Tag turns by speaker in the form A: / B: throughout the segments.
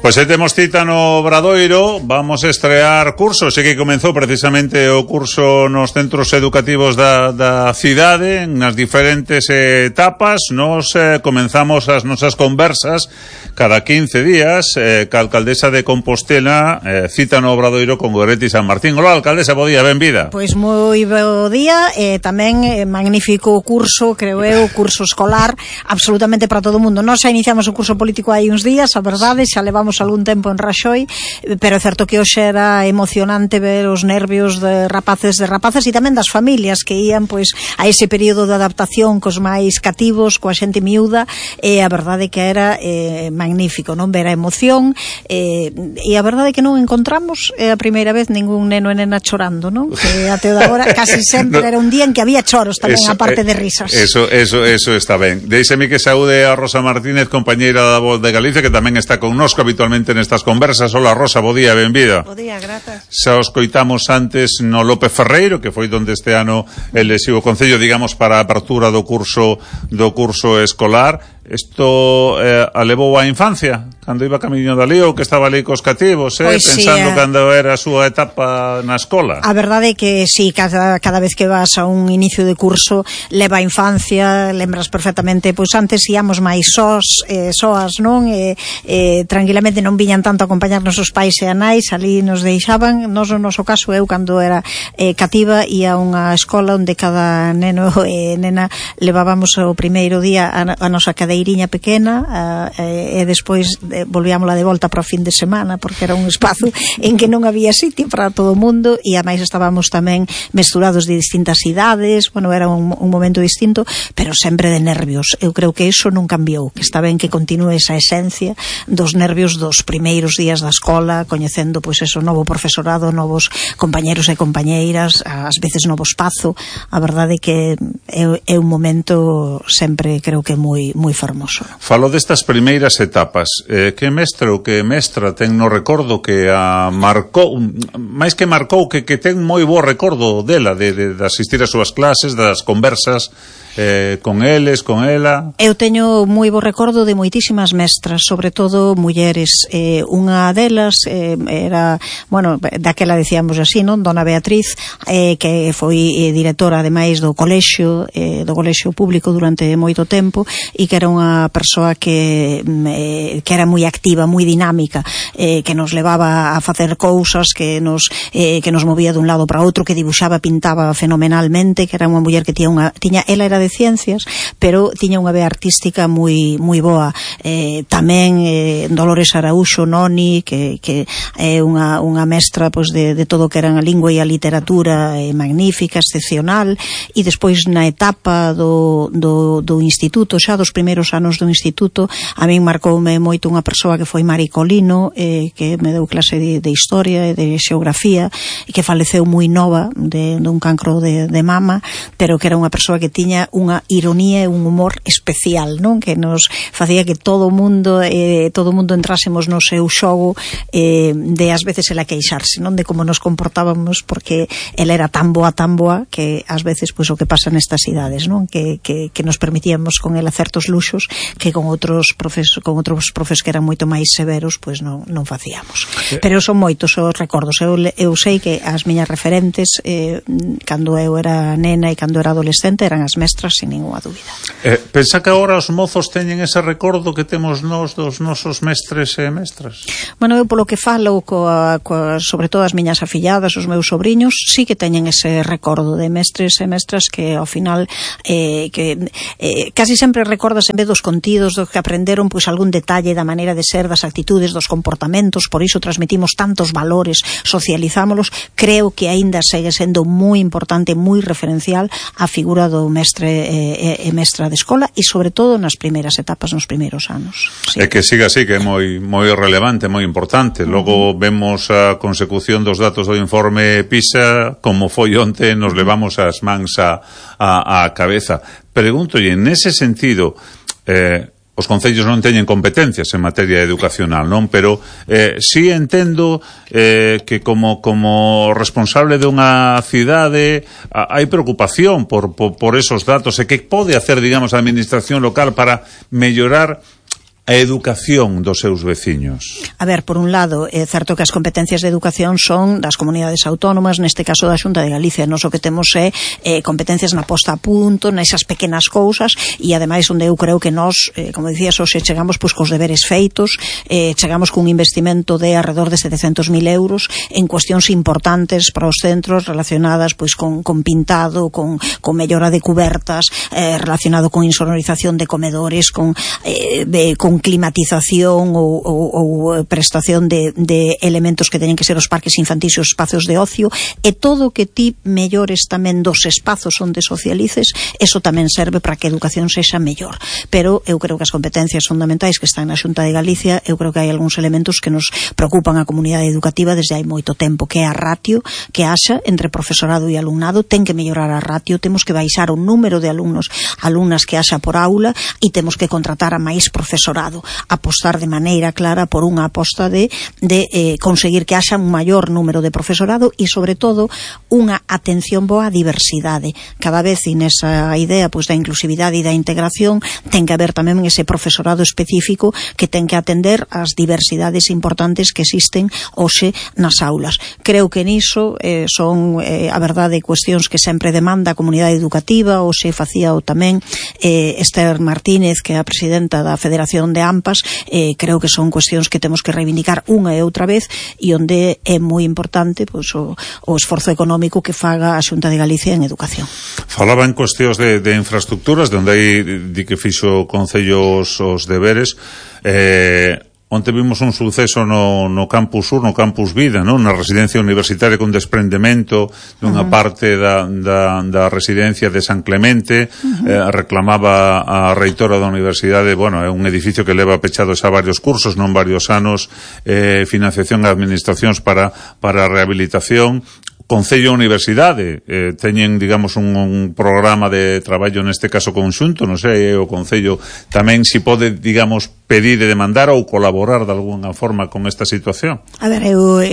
A: Pois temos cita no Obradoiro, vamos a estrear curso, sei que comenzou precisamente o curso nos centros educativos da cidade, nas diferentes etapas. Nos comenzamos as nosas conversas cada 15 días, ca alcaldesa de Compostela, cita no Obradoiro con Goretti San Martín. Hola, alcaldesa, bo día, benvida.
B: Pois moi bo día, tamén magnífico curso, creo eu, curso escolar, absolutamente para todo o mundo. Nós xa iniciamos o curso político hai uns días, a verdade, xa levamos algún tempo en Raxoi, pero é certo que hoxe era emocionante ver os nervios de rapaces e tamén das familias que ían pois a ese período de adaptación cos máis cativos, coa xente miúda, e a verdade que era magnífico, non ver a emoción, e a verdade que non encontramos a primeira vez ningún neno e nena chorando, non? Que até agora casi sempre era un día en que había choros tamén, a parte de risas.
A: Eso está ben. Déixeme que saúde a Rosa Martínez, compañeira da Voz de Galicia, que tamén está connosco habitualmente nestas conversas. Hola, Rosa, bo día, benvida.
B: Bo día, grazas.
A: Xa os coitamos antes no López Ferreiro, que foi donde este ano elixiu o Concello, digamos, para a apertura do curso escolar. Isto alevou a infancia, cando iba camiño dali, ou que estaba ali cos cativos,
B: pois
A: pensando cando era a súa etapa na escola.
B: A verdade é que sí, cada vez que vas a un inicio de curso leva a infancia, lembras perfectamente, pois antes íamos máis soas, non? Tranquilamente non viñan tanto a acompañarnos os pais e a nais, ali nos deixaban. Nos, no noso caso, eu cando era cativa ia a unha escola onde cada neno e nena levábamos o primeiro día a nosa cadeiriña pequena, e despois volvíamola de volta para o fin de semana, porque era un espazo en que non había sitio para todo o mundo, e ademais estábamos tamén mesturados de distintas idades. Bueno, era un momento distinto, pero sempre de nervios. Eu creo que iso non cambiou, que está ben que continúe esa esencia dos nervios dos primeiros días da escola, coñecendo pois eso, novo profesorado, novos compañeros e compañeiras, ás veces novo espazo. A verdade que é un momento sempre, creo que moi fermoso.
A: Falo destas primeiras etapas. Que mestre ou que mestra ten no recordo que a marcou, máis que marcou, que ten moi bo recordo dela, de asistir ás súas clases, das conversas con eles, con ela?
B: Eu teño moi bo recordo de moitísimas mestras, sobre todo mulleres. Unha delas era, bueno, daquela decíamos así, non? Dona Beatriz, que foi directora ademais do colexio público durante moito tempo, e que era unha persoa que era moi activa, moi dinámica, que nos levaba a facer cousas, que nos movía dun lado para outro, que dibuxaba, pintaba fenomenalmente, que era unha muller que ela era de ciencias, pero tiña unha vea artística moi boa. Tamén Dolores Araúxo Noni, que é unha mestra pois de todo que eran a lingua e a literatura, magnífica, excepcional. E despois na etapa do instituto, xa dos primeiros anos do instituto, a min marcoume moito unha persoa que foi Mari Colino, que me deu clase de historia e de xeografía, e que faleceu moi nova dun cancro de mama, pero que era unha persoa que tiña unha ironía e un humor especial, non? Que nos facía que todo o mundo entrásemos no seu xogo, de ás veces ela queixarse, non? De como nos comportábamos, porque ela era tan boa que ás veces pois o que pasa nestas idades, non? Que nos permitíamos con ela certos luxos que con outros profes que eran moito máis severos pois non facíamos. Pero son moitos os recordos. Eu sei que as miñas referentes cando eu era nena e cando era adolescente eran as mestras, sin ninguna dúbida.
A: Pensa que agora os mozos teñen ese recordo que temos nós dos nosos mestres e mestras?
B: Bueno, eu polo que falo sobre todo as miñas afilladas, os meus sobriños, sí que teñen ese recordo de mestres e mestras que ao final casi sempre recordas, en vez dos contidos do que aprenderon, pois algún detalle da maneira de ser, das actitudes, dos comportamentos. Por iso transmitimos tantos valores, socializámolos. Creo que aínda segue sendo moi importante, moi referencial a figura do mestre e mestra de escola, e sobre todo nas primeiras etapas, nos primeiros anos. Sí.
A: É que siga así, que é moi relevante, moi importante. Logo vemos a consecución dos datos do informe PISA, como foi onte, nos levamos as mans á cabeza. Pregúntolle, nese sentido, os concellos non teñen competencias en materia educacional, non? Pero sí entendo que como responsable dunha cidade hai preocupación por esos datos, e que pode hacer, digamos, a administración local para mellorar a educación dos seus veciños?
B: A ver, por un lado, é certo que as competencias de educación son das comunidades autónomas, neste caso da Xunta de Galicia. Nos o que temos é competencias na posta a punto, nesas pequenas cousas, e ademais onde eu creo que nós, como dicías, hoxe chegamos pois cos deberes feitos, chegamos cun investimento de alrededor de 700.000 euros en cuestións importantes para os centros relacionadas pois con pintado, con mellora de cubertas, relacionado con insonorización de comedores, con climatización ou prestación de elementos que teñen que ser os parques infantís e os espazos de ocio, e todo o que ti mellores tamén dos espazos onde socialices, eso tamén serve para que a educación sexa mellor. Pero eu creo que as competencias fundamentais que están na Xunta de Galicia, eu creo que hai algúns elementos que nos preocupan a comunidade educativa desde hai moito tempo, que é a ratio que haxa entre profesorado e alumnado. Ten que mellorar a ratio, temos que baixar o número de alumnas que haxa por aula, e temos que contratar a máis profesorado, apostar de maneira clara por unha aposta de conseguir que haxa un maior número de profesorado e, sobre todo, unha atención boa á diversidade. Cada vez, e nesa idea pois da inclusividade e da integración, ten que haber tamén ese profesorado específico que ten que atender as diversidades importantes que existen hoxe nas aulas. Creo que niso son, a verdade, cuestións que sempre demanda a comunidade educativa. Hoxe facía o tamén Esther Martínez, que é a presidenta da Federación de AMPAs. Creo que son cuestións que temos que reivindicar unha e outra vez, e onde é moi importante pois, o esforzo económico que faga a Xunta de Galicia en educación.
A: Falaba en cuestións de infraestructuras, de onde aí di que fixo o Concello os deberes. Onte vimos un suceso no Campus Sur, no Campus Vida, non? Na residencia universitaria, con desprendemento dunha parte da residencia de San Clemente. Reclamaba a reitora da universidade, bueno, é un edificio que leva pechado xa varios cursos, non varios anos, financiación a administracións para a rehabilitación. Concello e Universidade teñen, digamos, un programa de traballo neste caso conxunto, non sei, o Concello tamén si pode, digamos, pedir e demandar ou colaborar de alguna forma con esta situación.
B: A ver, eu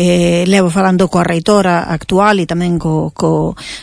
B: levo falando coa reitora actual e tamén co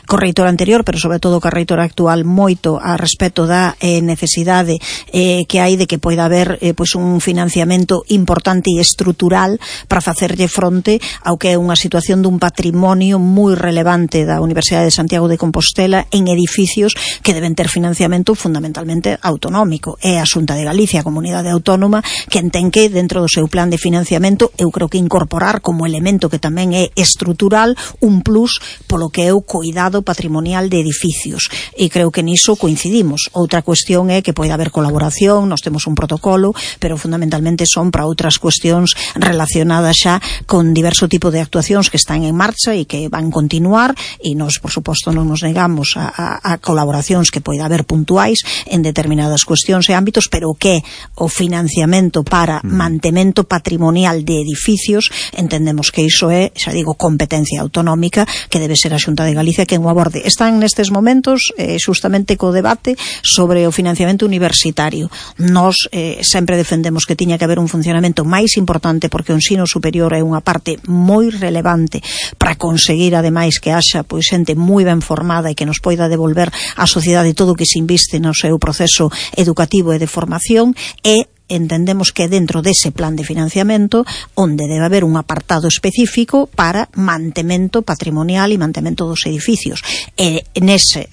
B: reitor anterior, pero sobre todo coa reitora actual, moito a respecto da necesidade que hai de que poida haber pois un financiamento importante e estrutural para facerlle fronte ao que é unha situación dun patrimonio moi relevante da Universidade de Santiago de Compostela en edificios que deben ter financiamento fundamentalmente autonómico. É a Xunta de Galicia, a comunidade autónoma, que entén que dentro do seu plan de financiamento eu creo que incorporar como elemento que tamén é estrutural un plus polo que é o cuidado patrimonial de edificios, e creo que niso coincidimos. Outra cuestión é que pode haber colaboración, nós temos un protocolo, pero fundamentalmente son para outras cuestións relacionadas xa con diverso tipo de actuacións que están en marcha e que van continuar, e nós, por suposto, non nos negamos a colaboracións que poida haber puntuais en determinadas cuestións e ámbitos, pero que o financiamento para mantemento patrimonial de edificios entendemos que iso é, xa digo, competencia autonómica que debe ser a Xunta de Galicia quen o aborde. Están nestes momentos justamente co debate sobre o financiamento universitario. Nós sempre defendemos que tiña que haber un funcionamento máis importante, porque o ensino superior é unha parte moi relevante para conseguir ademais que haxa pois xente moi ben formada e que nos poida devolver á sociedade todo o que se inviste no seu proceso educativo e de formación, e entendemos que dentro dese plan de financiamento onde debe haber un apartado específico para mantemento patrimonial e mantemento dos edificios, e nese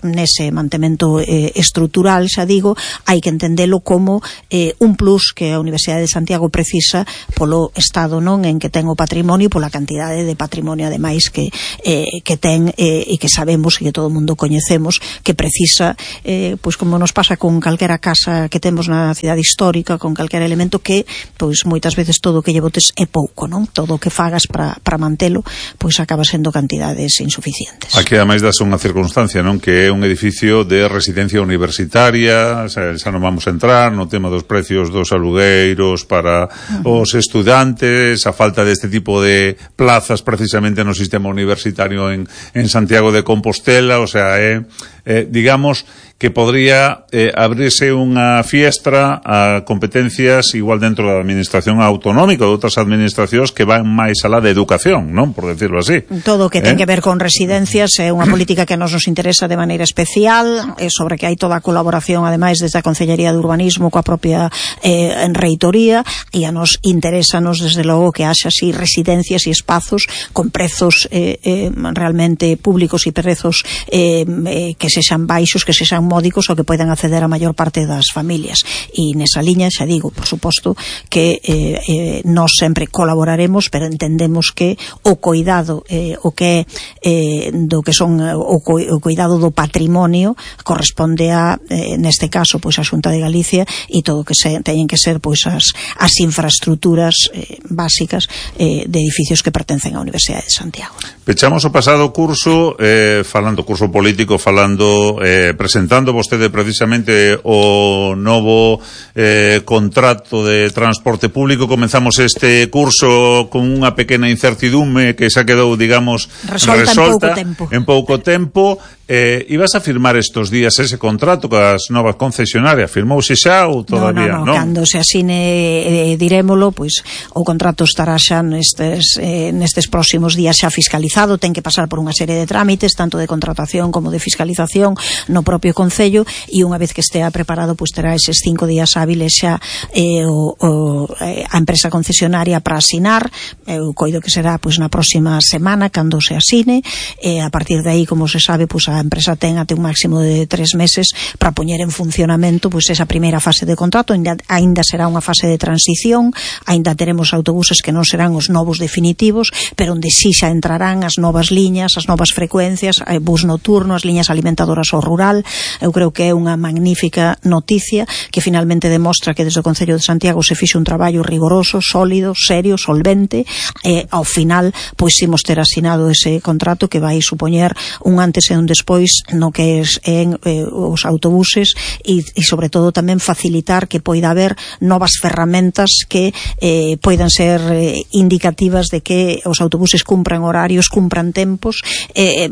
B: mantemento estrutural, xa digo, hai que entendelo como un plus que a Universidade de Santiago precisa polo estado non en que ten o patrimonio, pola cantidade de patrimonio ademais que ten e que sabemos e que todo o mundo coñecemos que precisa, pois como nos pasa con calquera casa que temos na cidade histórica, con calquera elemento que, pois, moitas veces todo o que lle botes é pouco, non? Todo o que fagas para mantelo, pois acaba sendo cantidades insuficientes.
A: Aquí, ademais, das unha circunstancia, non? Que é un edificio de residencia universitaria, xa non vamos a entrar no tema dos precios dos alugueiros para os estudantes, a falta deste tipo de plazas precisamente no sistema universitario en Santiago de Compostela, o sea, digamos que podría abrirse unha fiestra a competencias igual dentro da administración autonómica ou de outras administracións que van máis alá de educación, non? Por decirlo así.
B: Todo o que ten que ver con residencias é unha política que nos interesa de maneira especial, sobre que hai toda a colaboración, ademais, desde a Concellería de Urbanismo coa propia reitoría, e a nos interesanos, desde logo, que haxa así residencias e espazos con prezos realmente públicos e prezos que sexan baixos, que sexan módicos, ou que poidan acceder a maior parte das familias. E nesa liña, xa digo, por suposto, que nós sempre colaboraremos, pero entendemos que o coidado, o que do que son o coidado do patrimonio corresponde a, neste caso, pois a Xunta de Galicia, e todo o que teñen que ser pois as infraestructuras básicas de edificios que pertencen á Universidade de Santiago.
A: Pechamos o pasado curso falando curso político, falando presentando vostede precisamente o novo contrato de transporte público. Comenzamos este curso con unha pequena incertidume que xa quedou, digamos, resolta en pouco tempo. Ibas a firmar estos días ese contrato coas novas concesionarias? Firmouse xa ou todavía non?
B: Cando se asine dirémolo, pois o contrato estará xa nestes próximos días xa fiscalizado, ten que pasar por unha serie de trámites, tanto de contratación como de fiscalización no propio Concello, e unha vez que estea preparado, pois terá eses 5 días hábiles xa a empresa concesionaria para asinar. Eu coido que será pois na próxima semana cando se asine, e a partir de aí, como se sabe, pois a empresa ten até un máximo de 3 meses para poñer en funcionamento pois esa primeira fase de contrato. Ainda será unha fase de transición, ainda teremos autobuses que non serán os novos definitivos, pero onde sí xa entrarán as novas liñas, as novas frecuencias, bus noturno, as liñas alimentadoras ao rural. Eu creo que é unha magnífica noticia que finalmente demostra que desde o Concello de Santiago se fixe un traballo rigoroso, sólido, serio, solvente, e ao final pois imos ter asinado ese contrato que vai supoñer un antes e un despois no que en os autobuses, e sobre todo tamén facilitar que poida haber novas ferramentas que poidan ser indicativas de que os autobuses cumpran horarios, cumpran tempos, e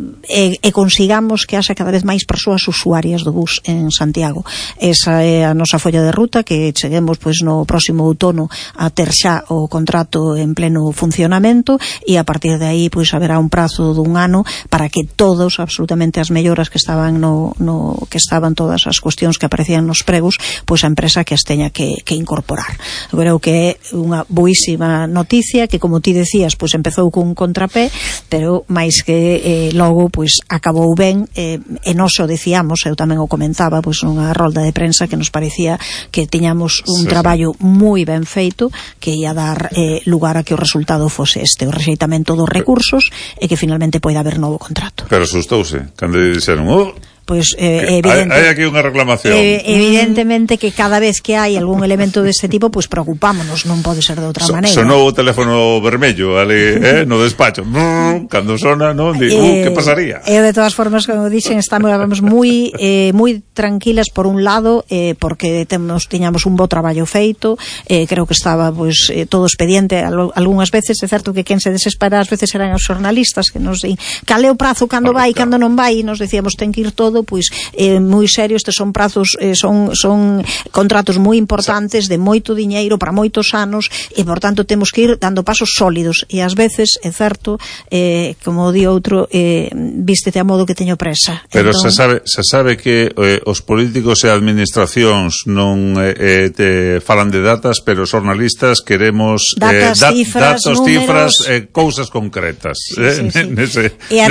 B: consigamos que haxa cada vez máis persoas usuarias do bus en Santiago. Esa é a nosa folla de ruta, que cheguemos pois no próximo outono a ter xa o contrato en pleno funcionamento, e a partir de aí pois haberá un prazo dun ano para que todos, absolutamente as melloras que estaban que estaban todas as cuestións que aparecían nos pregos, pois a empresa que as teña que incorporar. Eu creo que é unha boísima noticia que, como ti decías, pois empezou cun contrapé, pero máis que logo pois acabou ben, e nós o decíamos, eu tamén o comentaba pois nunha rolda de prensa, que nos parecía que tiñamos un traballo moi ben feito, que ia dar lugar a que o resultado fose o rexeitamento dos recursos, e que finalmente poida haber novo contrato.
A: Pero asustouse cando dixeron
B: pois
A: hai aquí unha reclamación.
B: Evidentemente que cada vez que hai algún elemento deste tipo, pois preocupámonos, non pode ser de outra maneira.
A: Sonou o teléfono vermello ali, no despacho. Cando sona, non? Digo, que pasaría?
B: De todas formas, como dixen, estamos moi tranquilas por un lado, porque tiñamos un bo traballo feito, creo que estaba pois todo expediente. Algunhas veces é certo que quen se desespera ás veces eran os xornalistas, que nos din cal é o prazo, cando vai, cando non vai, e nos decíamos ten que ir todo pois moi serio. Estes son prazos, son contratos moi importantes, de moito diñeiro para moitos anos, e por tanto temos que ir dando pasos sólidos, e ás veces é certo, como di outro, vístete a modo que teño presa.
A: Pero entón, se sabe que os políticos e administracións non te falan de datas, pero os jornalistas queremos
B: datos, cifras,
A: cousas concretas. Nese
B: e a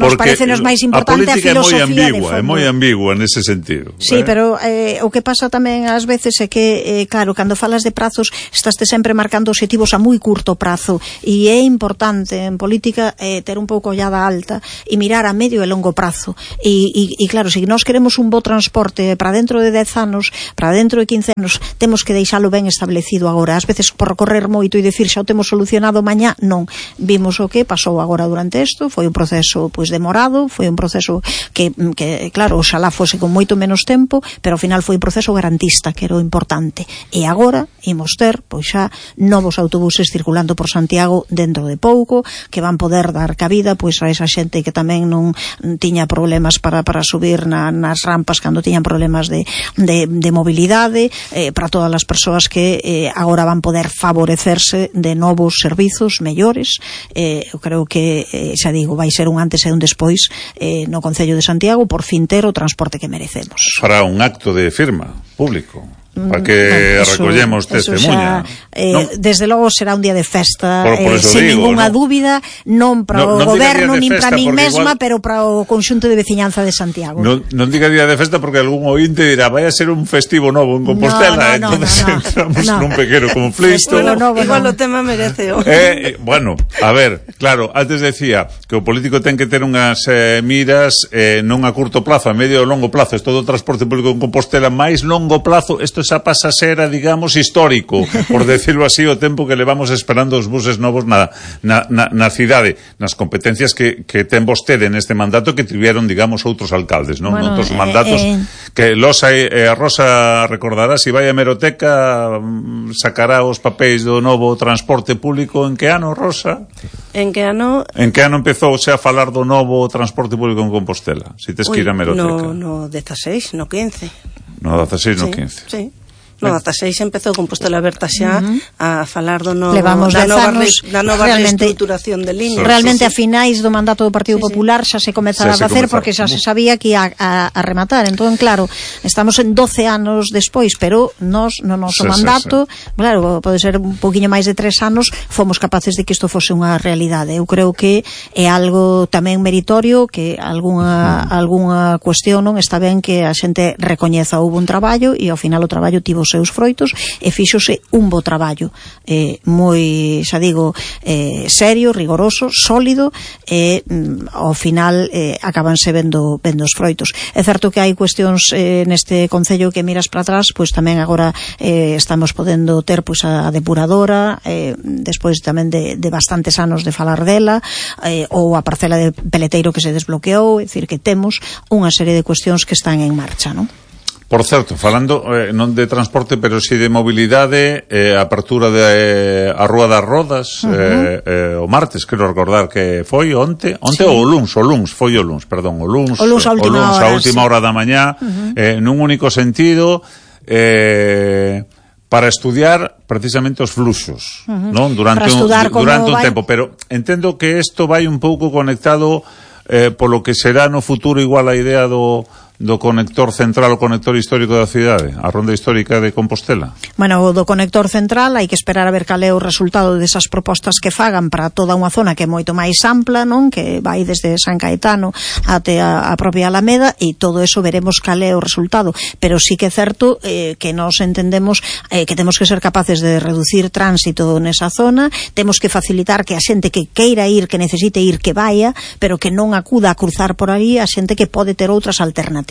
B: nos parecenos máis importante a filosofía.
A: É moi ambigua nese sentido.
B: Sí, pero o que pasa tamén ás veces é que, claro, cando falas de prazos estaste sempre marcando obxectivos a moi curto prazo, e é importante en política ter un pouco ollada alta e mirar a medio e longo prazo, e claro, se nós queremos un bo transporte para dentro de 10 anos, para dentro de 15 anos, temos que deixalo ben establecido agora. Ás veces por correr moito e decir xa o temos solucionado mañá, non. Vimos o que pasou agora durante isto, foi un proceso pois demorado, foi un proceso que que claro, oxalá fose con moito menos tempo, pero ao final foi un proceso garantista, que era o importante. E agora imos ter, pois xa, novos autobuses circulando por Santiago dentro de pouco, que van poder dar cabida pois a esa xente que tamén non tiña problemas para subir nas rampas cando tiñan problemas de mobilidade, para todas as persoas que agora van poder favorecerse de novos servizos mellores. Eu creo que, xa digo, vai ser un antes e un despois no Concello de Santiago por fin ter o transporte que merecemos.
A: Fará un acto de firma público para que recollemos testemunha.
B: Desde logo será un día de festa, sen ninguna dúbida, non para o goberno nin para min mesma, pero para o conxunto de veciñanza de Santiago.
A: Non diga día de festa porque algún ointe dirá vai a ser un festivo novo en Compostela, entonces entramos nun pequeno conflicto.
C: Igual o tema merece
A: bueno, a ver, claro, antes decía que o político ten que ter unhas miras non a curto plazo, a medio e longo plazo. Isto do transporte público en Compostela máis longo plazo, isto xa pasa a ser, digamos, histórico, por decirlo así, o tempo que levamos esperando os buses novos na cidade, nas competencias que ten vostede neste mandato que tiveron, digamos, outros alcaldes, non? Bueno, outros mandatos que Rosa recordará, se vai a hemeroteca sacará os papéis do novo transporte público. En que ano, Rosa?
C: En que ano
A: empezou xa a falar do novo transporte público en Compostela? Se tes que ir a hemeroteca.
C: No 16, no 15.
A: No 16, no 15.
C: Sí. No 16 empezou Compostela Aberta xa a falar da nova reestruturación de líneas.
B: Realmente a finais do mandato do Partido Popular xa se comezaba a facer porque xa se sabía que ia a rematar. Entón, claro, estamos en 12 anos despois, pero nos no noso mandato, claro, pode ser un poquinho máis de 3 anos, fomos capaces de que isto fose unha realidade. Eu creo que é algo tamén meritorio, que algunha cuestión non está ben que a xente recoñeza houbo un traballo e ao final o traballo tivo seus froitos e fíxose un bo traballo moi, xa digo, serio, rigoroso, sólido e ao final acabanse vendo os froitos. É certo que hai cuestións neste Concello que miras para atrás, pois tamén agora estamos podendo ter pois a depuradora, despois tamén de bastantes anos de falar dela, ou a parcela de Peleteiro que se desbloqueou, é dicir que temos unha serie de cuestións que están en marcha, non?
A: Por certo, falando non de transporte, pero si de mobilidade, a apertura de a Rúa das Rodas o martes, quero recordar que foi onte ou o luns, foi o luns, perdón, o luns a última hora da mañá, nun único sentido, para estudiar precisamente os fluxos, non? Durante un tempo, pero entendo que isto vai un pouco conectado polo que será no futuro igual a idea do conector central, o conector histórico da cidade, a ronda histórica de Compostela.
B: Bueno, o do conector central hai que esperar a ver cal é o resultado desas propostas que fagan para toda unha zona que é moito máis ampla, non? Que vai desde San Caetano até a propia Alameda, e todo eso veremos cal é o resultado, pero sí que é certo que nos entendemos que temos que ser capaces de reducir tránsito nesa zona, temos que facilitar que a xente que queira ir, que necesite ir, que vaya, pero que non acuda a cruzar por ali a xente que pode ter outras alternativas.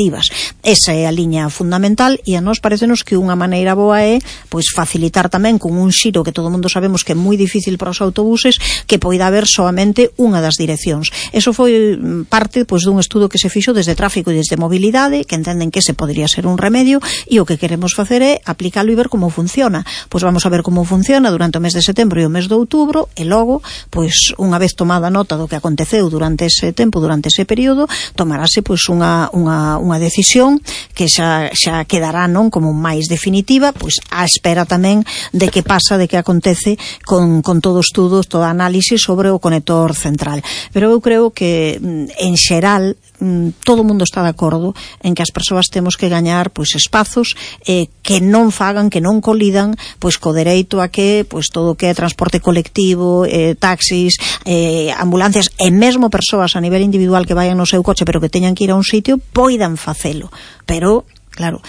B: Esa é a liña fundamental, e a nós parecenos que unha maneira boa é pois facilitar tamén con un xiro que todo mundo sabemos que é moi difícil para os autobuses, que poida haber solamente unha das direccións. Eso foi parte pois dun estudo que se fixo desde tráfico e desde mobilidade, que entenden que ese podría ser un remedio, e o que queremos facer é aplicalo e ver como funciona. Pois vamos a ver como funciona durante o mes de setembro e o mes de outubro, e logo, pois unha vez tomada nota do que aconteceu durante ese tempo, durante ese período, tomarase pois unha decisión que xa quedará non como máis definitiva, pois á espera tamén de que pasa, de que acontece con todo estudo, toda análise sobre o conector central. Pero eu creo que en xeral todo o mundo está de acordo en que as persoas temos que gañar pois espazos que non fagan, que non colidan pois co dereito a que pois todo o que é transporte colectivo, taxis, ambulancias e mesmo persoas a nivel individual que vayan no seu coche pero que teñan que ir a un sitio poidan facelo, pero claro,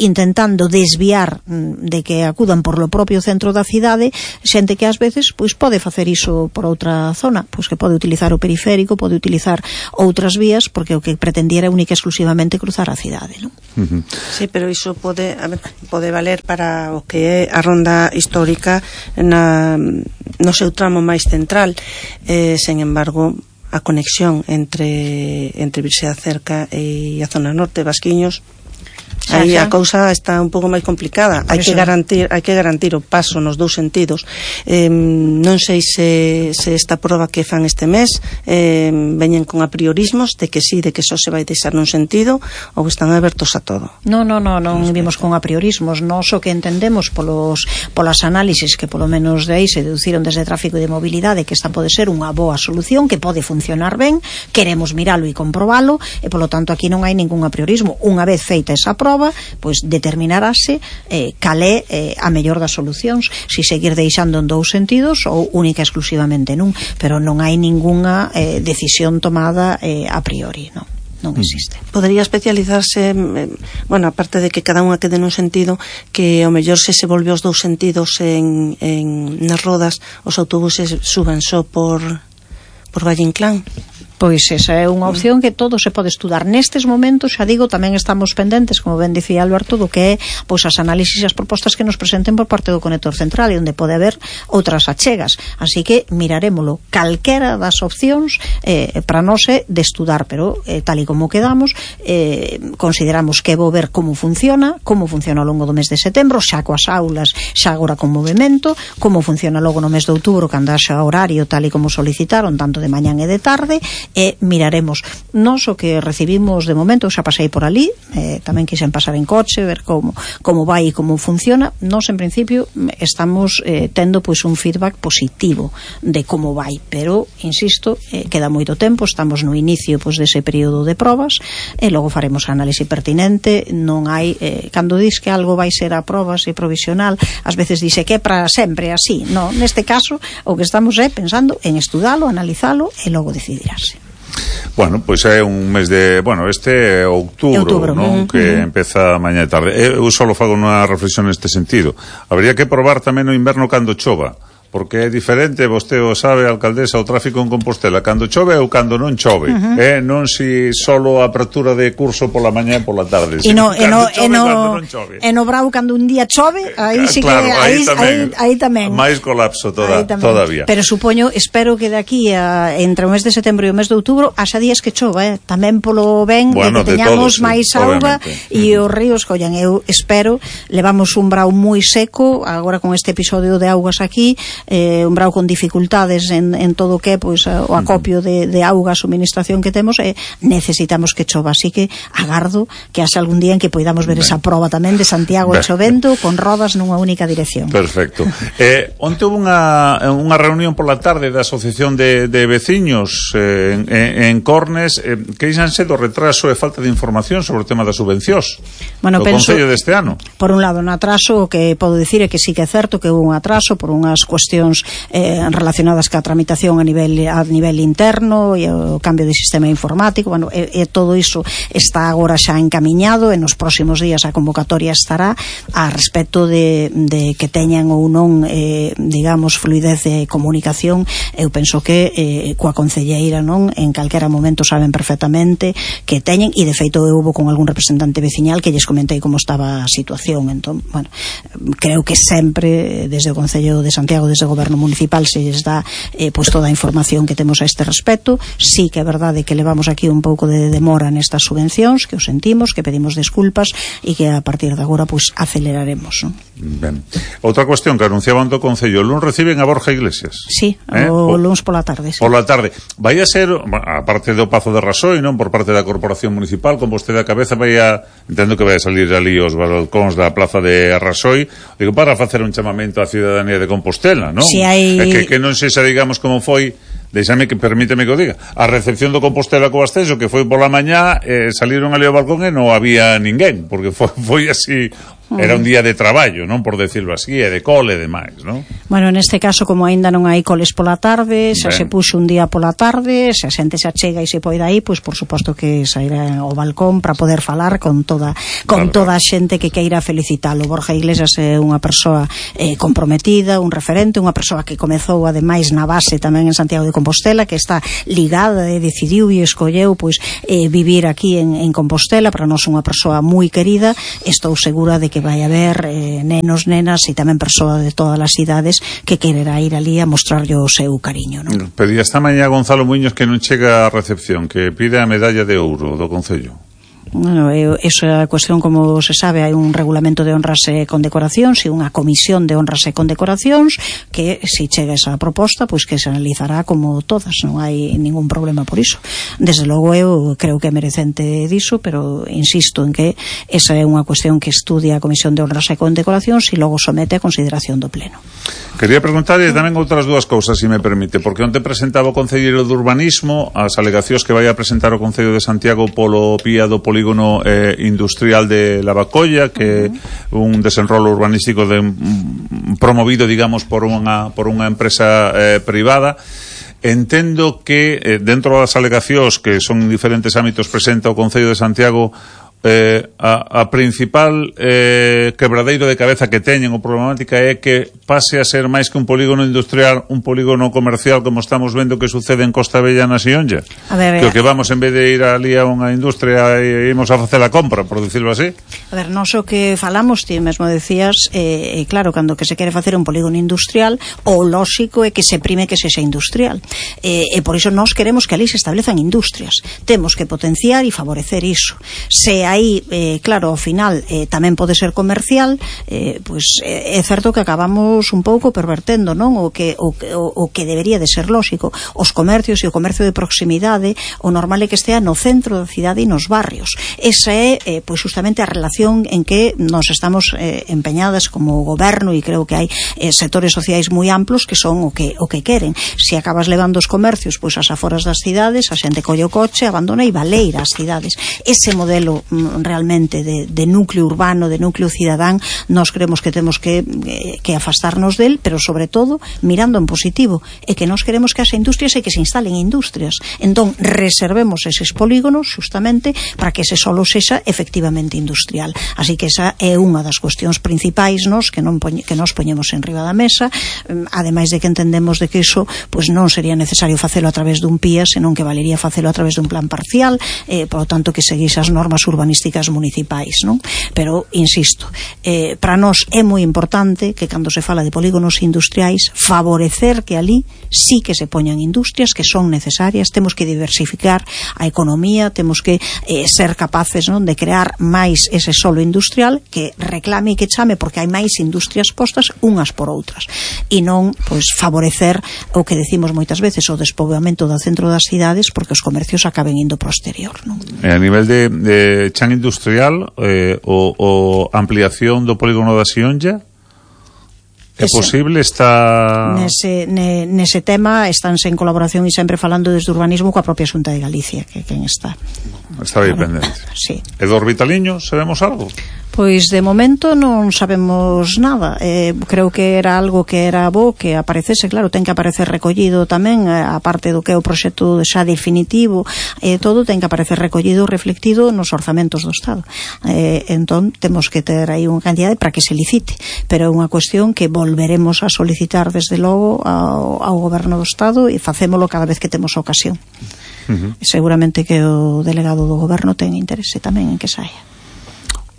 B: intentando desviar de que acudan por lo propio centro da cidade, xente que ás veces pois pode facer iso por outra zona, pois que pode utilizar o periférico, pode utilizar outras vías, porque o que pretendiera única e exclusivamente cruzar a cidade, non?
C: Sí, pero iso pode valer para o que é a ronda histórica no seu tramo máis central, sen embargo a conexión entre Virsea Cerca e a zona norte, Vasquiños, aí a cousa está un pouco máis complicada. Hai que garantir o paso nos dous sentidos. Non sei se esta proba que fan este mes veñen con apriorismos de que sí, de que só se vai deixar nun sentido, ou están abertos a todo.
B: Non vimos con apriorismos. Nós o que entendemos polas análisis que polo menos de aí se deduciron desde tráfico e de mobilidade, que esta pode ser unha boa solución, que pode funcionar ben, queremos miralo e comprobalo, e polo tanto aquí non hai ningún apriorismo. Unha vez feita esa proba, pois determinarase cal é a mellor das solucións, si seguir deixando en dous sentidos ou única e exclusivamente nun, pero non hai ningunha decisión tomada a priori, non existe.
C: Podería especializarse, aparte de que cada unha quede nun sentido, que ao mellor se volve os dous sentidos nas rodas, os autobuses suban só por Valle Inclán.
B: Pois esa é unha opción que todo se pode estudar. Nestes momentos, xa digo, tamén estamos pendentes, como ben dicía Alberto, do que é pois as análisis e as propostas que nos presenten por parte do Conector Central, e onde pode haber outras achegas. Así que mirarémolo. Calquera das opcións para nós é de estudar, pero tal e como quedamos, consideramos que é bo ver como funciona ao longo do mes de setembro, xa coas aulas, xa agora con movimento, como funciona logo no mes de outubro, cando haxa horario tal e como solicitaron, tanto de mañán e de tarde, e miraremos. Nós o que recibimos de momento, xa pasei por ali, tamén quixen pasar en coche, ver como vai e como funciona. Nós en principio estamos tendo pois un feedback positivo de como vai, pero insisto, queda moito tempo, estamos no inicio pois dese período de probas, e logo faremos a análise pertinente. Non hai, cando dis que algo vai ser a probas e provisional, ás veces dice que é para sempre así. No, neste caso o que estamos é pensando en estudalo, analizalo e logo decidirase.
A: Bueno, pois é un mes de... este é outubro, non? Que empeza mañá e tarde. Eu só fago unha reflexión neste sentido. Habría que probar tamén o inverno cando chova, porque é diferente, vostede o sabe, alcaldesa, o tráfico en Compostela cando chove ou cando non chove, non si solo a apertura de curso pola mañá e pola tarde,
B: e no Brau cando un día chove, aí sí que aí tamén
A: máis colapso todavía.
B: Pero espero que de aquí entre o mes de setembro e o mes de outubro haxa días que chova, tamén polo ben de que teñamos máis auga e os ríos collan. Eu espero, levamos un Brau moi seco agora con este episodio de augas aquí, un Brau con dificultades en todo o que pois o acopio de auga, a suministración que temos, e necesitamos que chova, así que agardo que haxe algún día en que poidamos ver esa proba tamén de Santiago e chovendo con rodas nunha única dirección.
A: Perfecto. Onte houve unha reunión pola tarde da Asociación de Veciños en Cornes, queixanse do retraso e falta de información sobre o tema das subvencións do Concello deste ano.
B: Por un lado, un atraso, o que podo dicir é que sí que é certo que houve un atraso por unhas cuestións relacionadas ca tramitación a nivel interno e o cambio de sistema informático. E todo iso está agora xa encamiñado, e nos próximos días a convocatoria estará a respecto de que teñan ou non digamos fluidez de comunicación. Eu penso que coa concelleira en calquera momento saben perfectamente que teñen, e de feito eu houve con algún representante veciñal que lles comentei como estaba a situación. Entón, creo que sempre desde o Concello de Santiago, desde o Goberno Municipal, se lles dá pois toda a información que temos a este respecto. Sí que é verdade que levamos aquí un pouco de demora nestas subvencións, que o sentimos, que pedimos desculpas e que a partir de agora pois aceleraremos.
A: Ben. Outra cuestión que anunciaban do Concello, o luns reciben a Borja Iglesias.
B: Sí, o luns pola tarde. Sí.
A: Pola tarde. Vai a ser, a parte do Pazo de Rasoi, non, por parte da Corporación Municipal, con vostede a cabeza, entendo que vai a salir ali os balcóns da Plaza de Rasoi, digo, para facer un chamamento á ciudadanía de Compostela, non?
B: Si hai...
A: que non sei se digamos como foi, permíteme que o diga, a recepción do Compostela co ascenso, que foi pola mañá, saliron ali ao balcón e non había ninguén, porque foi así. Era un día de traballo, non, por decirlo así, e de cole e demais, non?
B: Bueno, neste caso, como aínda non hai coles pola tarde, xa se puxo un día pola tarde, se a xente se achega e se poida aí, pois por suposto que sairá ao balcón para poder falar con toda a xente que queira felicitalo. Borja Iglesias é unha persoa comprometida, un referente, unha persoa que comezou ademais na base tamén en Santiago de Compostela, que está ligada e decidiu e escolleu pois vivir aquí en Compostela. Para nós unha persoa moi querida. Estou segura de que que vai haber nenos, nenas e tamén persoas de todas as idades que quererá ir ali a mostrarlle o seu cariño, non?
A: Pedía esta mañá Gonzalo Muñoz que non chega a recepción, que pide a medalla de ouro do Concello.
B: Bueno, esa cuestión, como se sabe, hai un regulamento de honras e condecoracións e unha comisión de honras e condecoracións que, se chega esa proposta, pois que se analizará como todas, non hai ningún problema por iso. Desde logo eu creo que é merecente diso, pero insisto en que esa é unha cuestión que estudia a comisión de honras e condecoracións e logo somete a consideración do Pleno.
A: Quería preguntarle tamén outras dúas cousas, se me permite, porque onte presentaba o Concelleiro de Urbanismo as alegacións que vai a presentar o Concello de Santiago polo pía do polígono industrial de Lavacolla, que un desenrolo urbanístico promovido, digamos, por unha empresa privada. Entendo que dentro das alegacións, que son en diferentes ámbitos, presenta o Concello de Santiago, a principal quebradeiro de cabeza que teñen o problemática é que pase a ser máis que un polígono industrial, un polígono comercial, como estamos vendo que sucede en Costa Bella na Sionlla, que o que vamos, en vez de ir ali a unha industria, imos a facer a compra, por dicirlo así.
B: A ver, non o que falamos, ti mesmo decías, claro, cando que se quere facer un polígono industrial, o lóxico é que se prime que sexa industrial, e por iso nós queremos que ali se establezan industrias, temos que potenciar e favorecer iso. Se aí, claro, ao final tamén pode ser comercial, pois é certo que acabamos un pouco pervertendo, non? O que debería de ser lóxico. Os comercios e o comercio de proximidade, o normal é que estea no centro da cidade e nos barrios. Esa é, pois, justamente a relación en que nos estamos empeñadas como goberno, e creo que hai sectores sociais moi amplos que son o que queren. Se acabas levando os comercios pois ás aforas das cidades, a xente colle o coche, abandona e baleira as cidades. Ese modelo realmente de núcleo urbano, de núcleo cidadán, nós creemos que temos que afastarnos del, pero sobre todo mirando en positivo, e que nós queremos que haxa industrias e que se instalen industrias. Entón, reservemos eses polígonos justamente para que ese solo sexa efectivamente industrial. Así que esa é unha das cuestións principais que nos poñemos en riba da mesa, ademais de que entendemos de que iso pois non sería necesario facelo a través dun PIA, senón que valería facelo a través dun plan parcial, por lo tanto que seguise as normas urbanísticas municipais, non? Pero, insisto, para nós é moi importante que cando se fala de polígonos industriais favorecer que ali sí que se poñan industrias que son necesarias, temos que diversificar a economía, temos que ser capaces, non, de crear máis ese solo industrial que reclame e que chame, porque hai máis industrias postas unhas por outras, e non, pois, favorecer o que decimos moitas veces, o despoboamento do centro das cidades, porque os comercios acaben indo pro exterior, non?
A: A nivel de chan industrial, o ampliación do polígono da Sionlla, é posible? Está...
B: Nese tema estanse en colaboración e sempre falando desde urbanismo coa propia Xunta de Galicia, que quen está
A: aí pendente.
B: Sí.
A: E do Orbitaliño, sabemos algo?
B: Pois de momento non sabemos nada. Creo que era algo que era bo que aparecese, claro, ten que aparecer recollido tamén, a parte do que é o proxecto xa definitivo, todo ten que aparecer recollido, reflectido nos orzamentos do Estado. Entón, temos que ter aí unha cantidade para que se licite, pero é unha cuestión que volveremos a solicitar desde logo ao Goberno do Estado, e facémolo cada vez que temos ocasión. Seguramente que o delegado do Goberno ten interese tamén en que saia.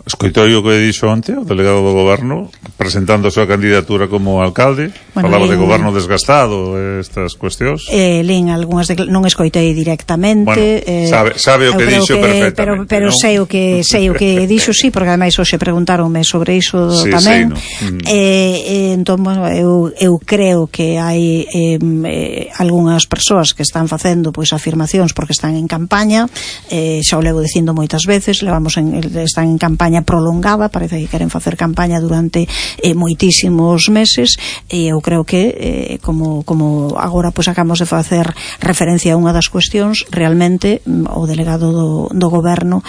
A: Escoitou o que dixo onte o delegado do Goberno presentando a súa candidatura como alcalde, falaba de goberno desgastado, estas cuestións.
B: Lín algunhas non escoitei directamente.
A: Sabe o que dixo perfectamente.
B: Pero sei o que dixo, sí, porque ademais hoxe preguntaronme sobre iso tamén. Entón, bueno, eu creo que hai algunhas persoas que están facendo pois afirmacións porque están en campaña, xa o levo dicindo moitas veces, están en campaña prolongada, parece que queren facer campaña durante moitísimos meses, e eu creo que como agora pois acabamos de facer referencia a unha das cuestións, realmente o delegado do Goberno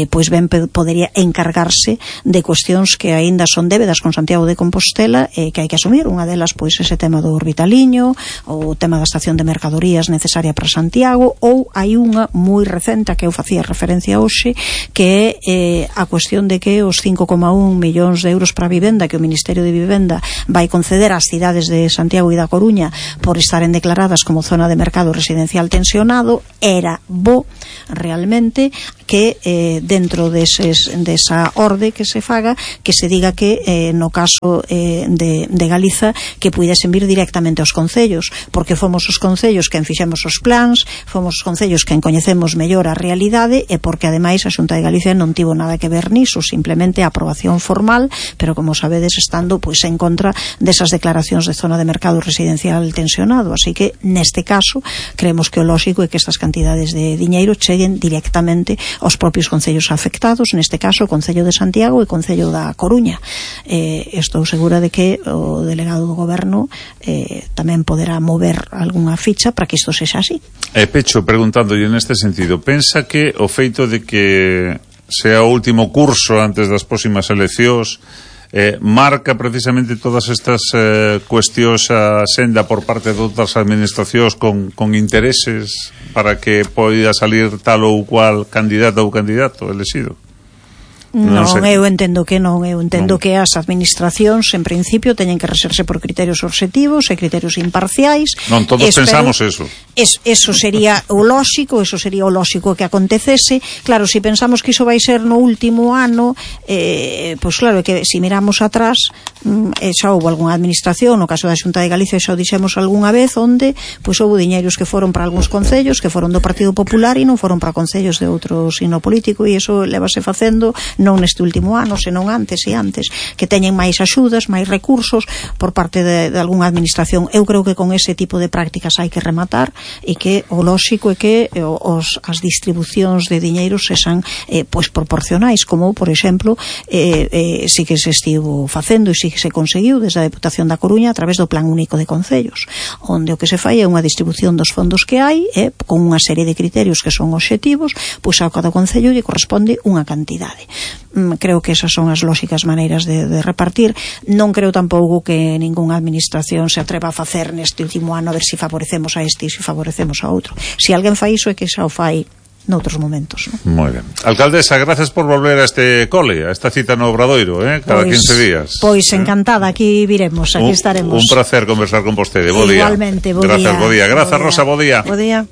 B: pois ben podería encargarse de cuestións que aínda son débedas con Santiago de Compostela, que hai que asumir. Unha delas pois ese tema do Orbitaliño, o tema da estación de mercadorías necesaria para Santiago, ou hai unha moi recente a que eu facía referencia hoxe, que é a cuestión de que os 5,1 millóns de euros para a vivenda que o Ministerio de Vivenda vai conceder ás cidades de Santiago e da Coruña por estaren declaradas como zona de mercado residencial tensionado, era bo realmente que dentro desa orde que se faga, que se diga que no caso de Galiza que puidesen vir directamente aos concellos, porque fomos os concellos quen fixemos os plans, fomos os concellos quen coñecemos mellor a realidade, e porque ademais a Xunta de Galicia non tivo nada que ver niso, simplemente a aprobación formal, pero como sabedes estando pois en contra desas declaracións de zona de mercado residencial tensionado, así que neste caso creemos que o lóxico é que estas cantidades de diñeiro cheguen directamente aos propios concellos afectados, neste caso o Concello de Santiago e o Concello da Coruña. Estou segura de que o delegado do goberno tamén poderá mover algunha ficha para que isto sexa así.
A: Pecho, preguntándolle neste sentido, pensa que o feito de que sea o último curso antes das próximas eleccións marca precisamente todas estas cuestións a senda por parte de outras administracións con intereses para que poida salir tal ou cual candidato ou candidato elexido?
B: Non, eu entendo que non. Eu entendo que as administracións en principio teñen que reserse por criterios obxectivos e criterios imparciais.
A: Non, todos pensamos eso.
B: Eso sería o lóxico, que acontecese. Claro, se pensamos que iso vai ser no último ano, pois claro, que se miramos atrás, xa houve algunha administración, no caso da Xunta de Galicia xa o dixemos algunha vez, onde pois houve diñeiros que foron para algúns concellos, que foron do Partido Popular e non foron para concellos de outro signo político, e iso levase facendo non neste último ano, senón antes, que teñen máis axudas, máis recursos por parte de algunha administración. Eu creo que con ese tipo de prácticas hai que rematar, e que o lóxico é que as distribucións de diñeiro sexan pois proporcionais, como por exemplo si que se estivo facendo e si que se conseguiu desde a Deputación da Coruña a través do Plan Único de Concellos, onde o que se fai é unha distribución dos fondos que hai, con unha serie de criterios que son obxectivos, pois a cada concello lle corresponde unha cantidade. Creo que esas son as lóxicas maneiras de repartir. Non creo tampouco que ningunha administración se atreva a facer neste último ano a ver se favorecemos a este e se favorecemos a outro. Se alguén fai iso é que xa o fai noutros momentos, ¿no?
A: Moi ben. Alcaldesa, gracias por volver a este cole, a esta cita no Obradoiro, cada 15 días.
B: Pois encantada, aquí viremos, aquí estaremos.
A: Un placer conversar con vostede. Bo día.
B: Igualmente, bo día.
A: Gracias, bo día. Grazas, Rosa, bo día.
C: Bo día.